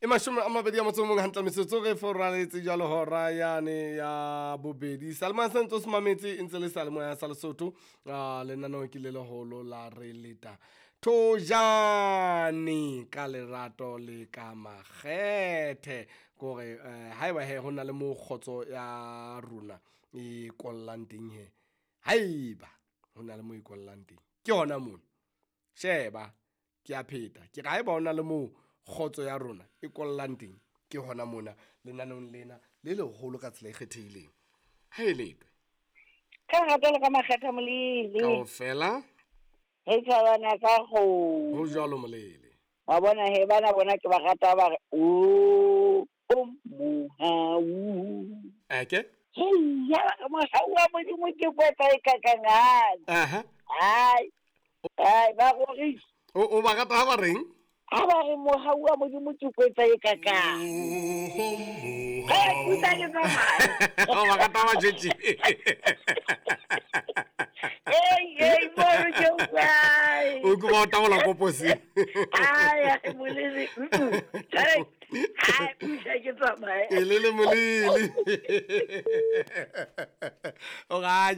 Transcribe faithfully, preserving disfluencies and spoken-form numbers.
E mashome a mabedi a motso o mong hantle metsotso re foraletse jwalo hora yane ya bobedi. Salema se ntse o se mametse e ntse le seyalemoya sa Lesotho. Ah, lenaneo ke le leholo la re leta thojane ka lerato le ka makgethe. Kore eh, haeba he ho na le mo kgotso ya rona e kollang teng he. Haeba ho na le mo e kollang teng. Ke hona mona. Sheba, ke a pheta. Ke re haeba ho na le moo kgotso ya rona e kollang teng, ke hona mona lenaneong lena le leholo ka tsela e kgethehileng. Ha e letwe. Ka lerato le ka makgetha molele. Kaofela Re thabana ka ho kgomo. jwalo molele. Wa bona he bana bona ke ba rata ba re o o mohau. Eke? Hei, ya ba re mohau wa Modimo ke kwetsa e kakangane. Aha. Hai. Hai, ba rorisa. O o ba rata ha ba reng? Ha ba re mohau wa Modimo ke kwetsa e kakang. Hei, kuta ke tsamaya. O ba rata ha ba tjetje. Ei, ei, mono ke utlwae. O ke ba o tabola koposi. Ai, ai, molele. Mm-mm. Jwale, hai, pusa ke tsamaye. E le le molele. O ra